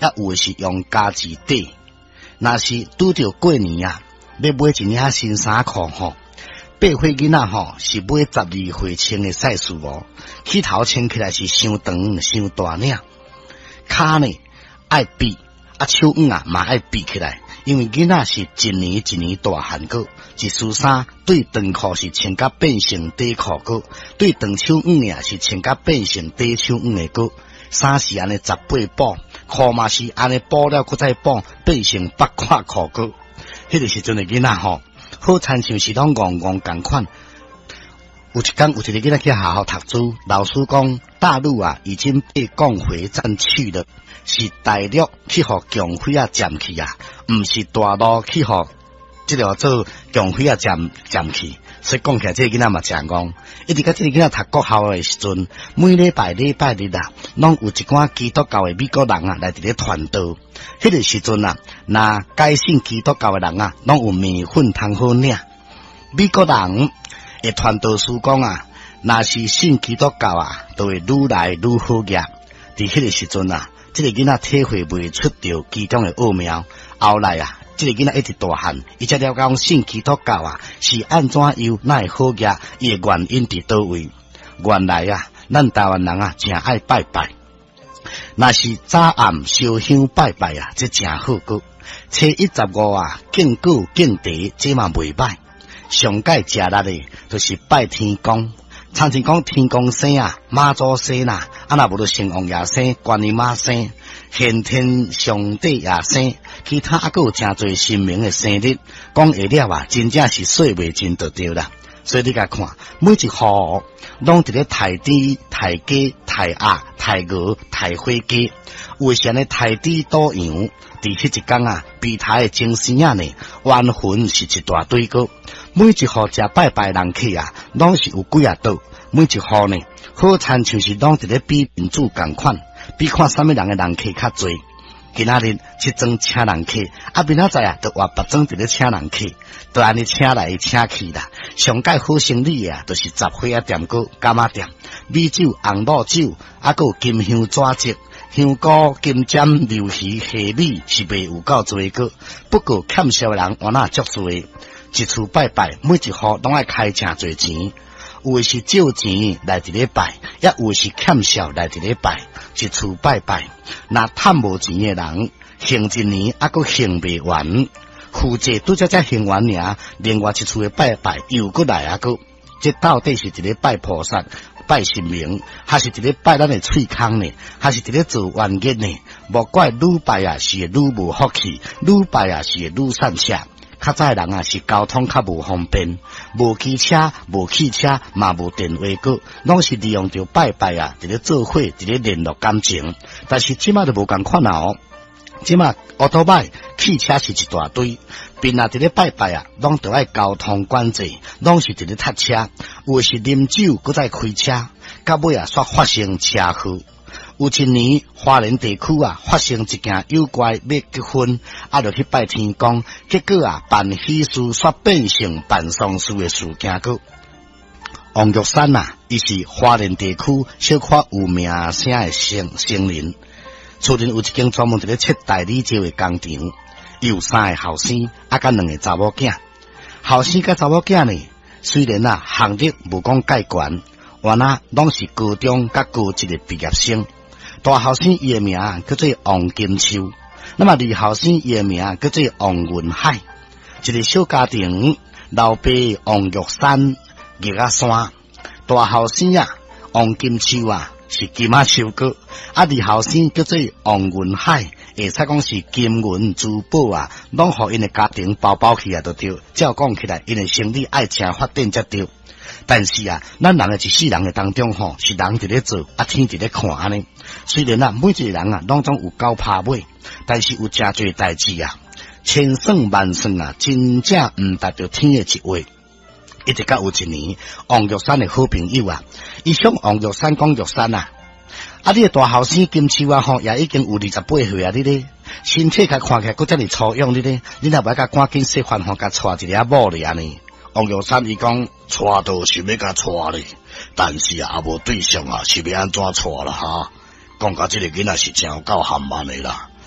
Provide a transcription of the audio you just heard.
抑有的是用家己底。若是拄著過年啊，欲買一領新衫褲吼，8歲囡仔吼是買12歲穿的 size 哦，起頭穿起來是傷長傷大領，跤呢愛覕，啊手腕啊嘛愛覕起來，因為囡仔是一年一年大漢閣，一束衫對長褲是穿甲變成短褲閣，對長手腕的是穿甲變成短手腕的閣，衫是按呢十八補，褲嘛是按呢補了閣再補，變成八塊褲閣。彼個時陣的囡仔吼，好親像是攏戇戇仝款。有一工有一个囡仔去學校讀書，老師講大陸啊已經被共匪佔去了，是大陸去予共匪仔佔去啊，毋是大陸去予這個做共匪仔佔佔去。所以講起來，這個囡仔嘛誠戇。一直到這個囡仔讀國校的時陣，每禮拜禮拜日啊，攏有一寡基督教的美國人啊來佇咧傳道。彼個時陣啊，若改信基督教的人啊，攏有麵粉通好領。美國人的傳道師講啊，若是信基督教啊，就會愈來愈好額。佇彼個時陣啊，這個囡仔體會袂出著其中的奧妙。後來啊，這個囡仔一直大漢，伊才了解講信基督教啊是按怎樣哪會好額，伊的原因佇佗位？原來啊，咱台灣人啊，誠愛拜拜。若是早暗燒香拜拜啊，這誠好閣。初一十五啊，敬果敬茶，這嘛袂歹。上蓋食力的，就是拜天公。親像講天公生啊，媽祖生啦，啊若無就城隍爺生，觀音媽生，玄天上帝也生，其他猶閣有誠濟神明的生日，講會了啊，真正是說袂盡就對啦。所以你共看，每一戶攏佇咧刣豬、刣雞、刣鴨、刣鵝、刣火雞，有的是按呢刣豬賭羊。佇彼一工啊，被刣的前生仔呢，冤魂是一大堆閣。每一戶食拜拜人客啊，攏是有幾仔桌。每一戶呢，好親像是攏佇咧比面子仝款，比看啥物人的人客較濟。今仔日這莊請人客，啊明仔載啊，就換別莊佇咧請人客，就按呢請來請去啦。上蓋好生理的啊，就是雜貨仔店閣柑仔店，米酒、紅露酒，啊閣有金香紙席、香菇、金針、鰻魚、蝦米是賣有夠濟閣。不過欠數的人原來足濟，一厝拜拜，每一戶攏愛開誠濟錢。有的是借錢來佇咧拜，抑有的是欠數來佇咧拜。一厝拜拜，若趁無錢的人，還一年猶閣還袂完，負債拄才才還完爾，另外一厝的拜拜又閣來啊閣。這到底是佇咧拜菩薩、拜神明，還是佇咧拜咱的喙空呢？還是佇咧做冤結呢？莫怪愈拜啊是會愈無福氣，愈拜啊是會愈散赤。較早的人啊是交通較無方便，無機車、無汽車，嘛無電話閣，攏是利用著拜拜啊，佇咧做伙，佇咧聯絡感情。但是這馬就無仝款啊哦，這馬烏托邦汽車是一大堆，邊仔佇咧拜拜啊，攏著愛交通管制，攏是佇咧塞車，有的是啉酒，閣再開車，到尾啊，煞發生車禍。有一年，花蓮地區啊，發生一件妖怪欲結婚，啊，就去拜天公，結果啊，辦喜事煞變成辦喪事的事件閣。王玉山啊，伊是花蓮地區小可有名聲的僧僧人，厝內有一間專門佇咧切大理石的工廠，伊有三个後生，啊，佮兩个查某囝。後生佮查某囝呢，雖然啊，學歷無講蓋懸，原來攏是高中佮高職的畢業生。大後生伊的名叫做王金秋，那麼二後生伊的名叫做王雲海。一个小家庭，老爸王玉山、玉仔山。大後生啊，王金秋啊是金仔秋閣，啊二後生叫做王雲海，會使講是金銀珠寶啊，攏予𪜶的家庭包包起來就對。照講起來，𪜶的生理愛誠發展才對。但是啊，咱人的一世人的當中吼，是人佇咧做，啊天佇咧看按呢。雖然啊，每一個人啊，攏總有狗拍尾，但是有誠濟代誌啊，千算萬算啊，真正毋值著天的一畫。一直到有一年，王玉山的好朋友啊，伊向王玉山講玉山啊，啊你的大後生金秋啊吼，也已經有28歲啊，你咧身體較看起來閣遮爾粗勇，你咧，你若無愛共趕緊洗飯吼，共娶一个某咧按呢？王玉山伊講，娶倒是欲共娶咧，但是啊，無對象啊，是欲按怎娶啦哈？講甲這个囡仔是誠有夠含慢的啦。